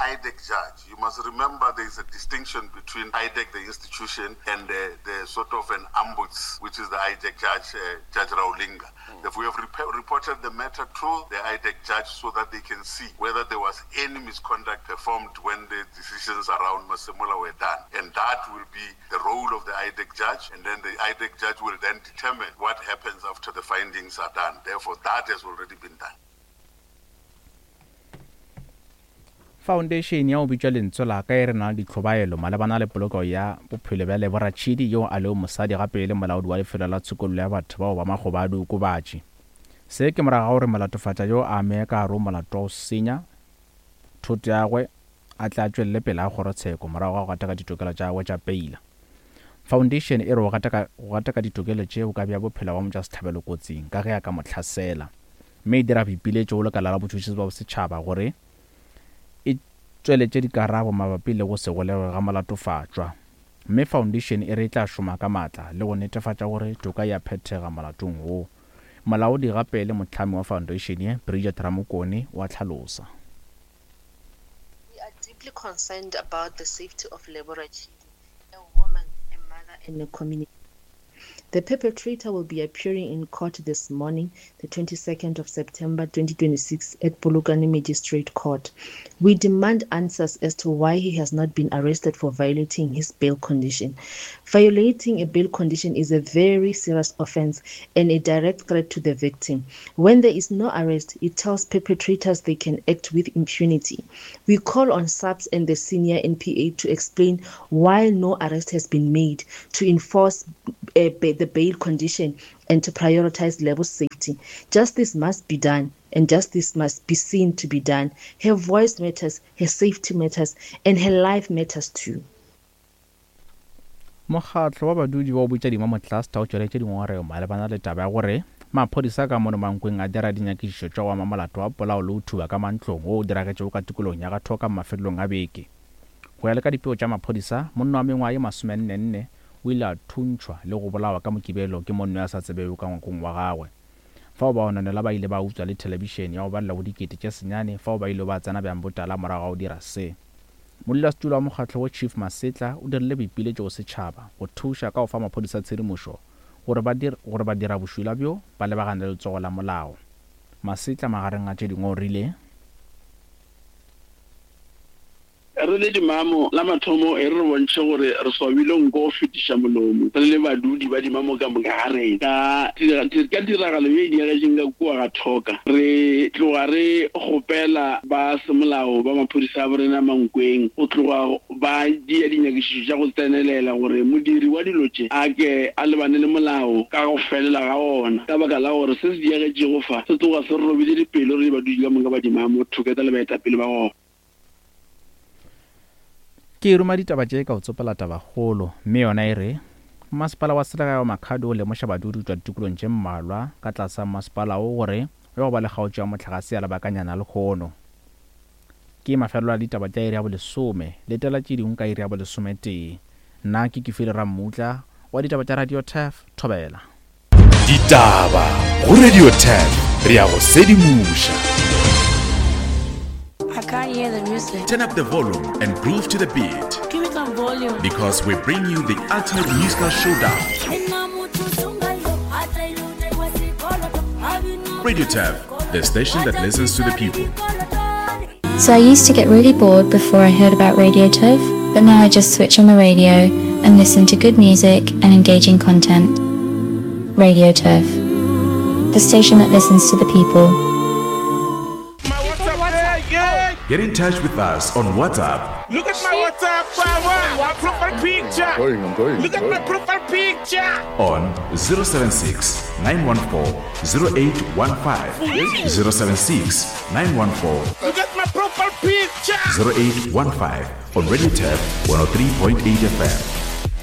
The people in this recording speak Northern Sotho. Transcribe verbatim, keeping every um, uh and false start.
I D E C judge. You must remember there is a distinction between I D E C, the institution, and the, the sort of an ombuds, which is the I D E C judge, uh, Judge Raulinga. Mm. If we have rep- reported the matter to the I D E C judge so that they can see whether there was any misconduct performed when the decisions around Masemola were done. And that will be the role of the I D E C judge, and then the I D E C judge will then determine what happens after the findings are done. Therefore, that has already been done. Foundation ya go bitšwa Lentswe la ka e re na le ditlhobaelo malebana le poloko ya bophelo bja Lebo Ratšhidi, yo a lego mosadi gape e le molaodi wa lefelo la tshokollo ya batho bao ba makgoba a diokobatši. Se ke morago ga gore molatofatša yo a ame ka gare go molato wa go senya thoto ya gagwe a tle a tšwelele pele ga kgorotsheko morago ga go gataka ditokelo tša gagwe tša peila. Foundation e re go gataka, go gataka ditokelo tše go ka bea bophelo bja motšwasehlabelo kotsing ka ge a ka mo hlasela, mme e dira boipiletšo go lekala la botšhotšhisi bja bosetšhaba gore e tšweletše dikarabo mabapi le go se golegwe ga molatofatšwa. Mme foundation e re e tla šoma ka maatla le go netefatša gore toka e a phethega molatong wo. Molaodi gape le mohlami wa foundation ye, Bridget Ramokone, o a hlalosa. We are deeply concerned about the safety of Lebo Ratshidi, a woman, a mother, and a community. The perpetrator will be appearing in court this morning, the twenty-second of September twenty twenty-six, at Polokwane Magistrate Court. We demand answers as to why he has not been arrested for violating his bail condition. Violating a bail condition is a very serious offense and a direct threat to the victim. When there is no arrest, it tells perpetrators they can act with impunity. We call on SAPS and the senior N P A to explain why no arrest has been made to enforce uh, the bail condition and to prioritize Lebo's safety. Justice must be done, and justice must be seen to be done. Her voice matters, her safety matters, and her life matters too. Mokgatlo wa badudi wa bitša Dimamo Cluster o tšweletše dingongorego malebana le taba ya gore maphodisa ka mono Mankweng a dira dinyakišišo tša go ama molato wa polao le go thuba ka mantlong wo o diragetšego ka tikologong ya Gathoka mafelelong a beke. Go ya le ka dipego tša maphodisa, monna wa mengwaga ye masomennenne o ile a thuntšhwa le go bolawa ka Mokibelo ke monna yo a sa tsebego ka ngwakong wa gagwe. Fao bagononelwa ba ile ba utswa le thelebišene ya go balela go dikete tše senyane fao ba ile ba tsena bjang botala morago ga go dira se. Modulasetulo wa mokgatlo wo, Chief Masetla, o dirile boipiletšo go setšhaba go thuša ka go fa maphodisa tshedimošo gore ba dir, gore ba dira bošula bjo ba lebagane le letsogo la molao. Masetla magareng a tše dingwe o rile: Re le Dimamo, la mathomo e re re bontšhe gore re swabile nko go fetiša molomo re le badudi ba Dimamo ka moka ga rena ka ka tiragalo ye e diagetšeng ka kua ga Thoka. Re tloga re kgopela ba semolao ba maphodisa a borena Mankweng go tloga ba dia dinyakišišo tša go tsenelela gore modiri wa dilo tše a ke a lebane le molao ka go felela ga ona, ka baka la gore se se diagetšego fa se tloga se re robile dipelo re le badudi ka moka ba Dimamo, Thuketa le baetapele ba gona. Ke ruma ditaba tše ka go tsopela tabakgolo, mme yona e re masepala wa selegae wa Makhado o lemoša badudi go tšwa ditikolong tše mmalwa ka tlase ga masepala wo gore go ya go ba le kgaotšo ya mohlagase ya lebakanyana lehono. Ke mafelelo a ditaba tša iri ya bolesome. Letela tše dingwe ka iri ya bolesometee. Nna ke Kefile Rammutla wa ditaba tša Radio Turf. Thobela. Ditaba go Radio Turf, re ya go sedimoša. I can't hear the music. Turn up the volume and groove to the beat. Give me some volume. Because we bring you the ultimate musical showdown. Radio Turf, the station that listens to the people. So I used to get really bored before I heard about Radio Turf, but now I just switch on the radio and listen to good music and engaging content. Radio Turf, the station that listens to the people. Get in touch with us on WhatsApp Look at my WhatsApp, my profile picture. Going, I'm going. Look at my profile picture. On zero seven six, nine one four zero eight one five, zero seven six, nine one four Look at my profile picture. zero eight one five on Radio Turf one oh three point eight F M.